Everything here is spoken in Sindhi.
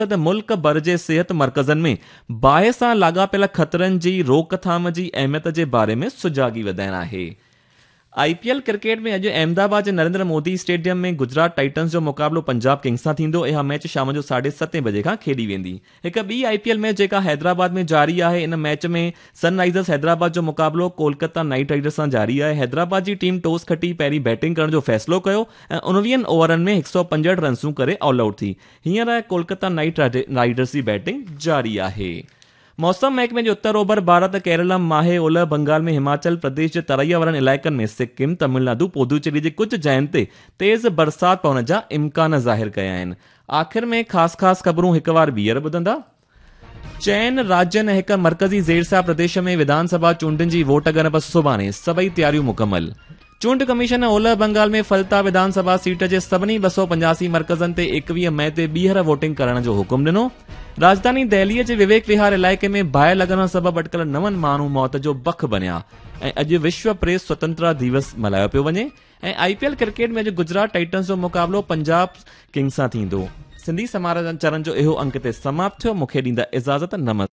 مقصد ملڪ ڀر جي صحت مرڪزن ۾ باهه سان لاڳاپيل خطرن جي روڪٿام جي اهميت جي باري ۾ سجاڳي وڌائڻ آهي. آء پي ايل ڪرڪيٽ ۾ اڄ احمدآباد جي نريندر مودي اسٽيڊيم ۾ گجرات ٽائٽنز جو مقابلو پنجاب ڪنگز سان ٿيندو. اها ميچ شام جو ساڍي ستين بجي کان کيڏي ويندي. هڪ ٻي آء پي ايل ميچ جيڪا حيدرآباد ۾ جاري آهي ان ميچ ۾ سن رائيزرز حيدرآباد جو مقابلو ڪولڪتا نائيٽ رائيڊرز سان جاري آهي. حيدرآباد جي ٽيم ٽاس کٽي پهرين بيٽنگ ڪرڻ جو فيصلو ڪيو ۽ اڻويهن اوورن ۾ هڪ سؤ پنجهٺ رنسون ڪري آل آئوٽ ٿي. هينئر ڪولڪتا نائيٽ رائيڊرز جي بيٽنگ جاري آهي. موسم محڪمي جي اتر اوڀر ڀارت، ڪيرلم، ماهي، اولهه بنگال ۾ هماچل پرديش جي ترائيء وارن علائقن ۾ سڪم، تمل نادو، پودوچيري جي ڪجهه جاين تي تيز برسات پوڻ جا امڪان ظاهر ڪيا آهن. آخر ۾ خاص خاص خبرون هڪ وار ٻيهر ٻڌندا. چئن راجين ۽ هڪ مرڪزي زيرسيا پرديش ۾ وڌان سڀا چونڊن جي ووٽ ڳڻپ سڀاڻي، سڀئي تياريون مڪمل. چونڊ ڪميشن اولهه بنگال ۾ فلتا وڌان سڀا سيٽ جي سڀني 285 مرڪزن تي 21 مئي تي ٻيهر ووٽنگ ڪرڻ جو حڪم ڏنو. راڄڌاني دهلي جي وويڪ وهار علائقي ۾ باهه لڳڻ سبب اٽڪل نون ماڻهو موت جو بک بنيا ۽ اڄ وشو پريس سوتنترا ديوس ملهايو پيو وڃي ۽ آء پي ايل ڪرڪيٽ ۾ اڄ گجرات ٽائٽنز جو مقابلو پنجاب ڪنگز سان ٿيندو. سنڌي سماچارن جو اهو انڪ هتي سماپت ٿيو. مون کي ڏيندا اجازت. نمستي.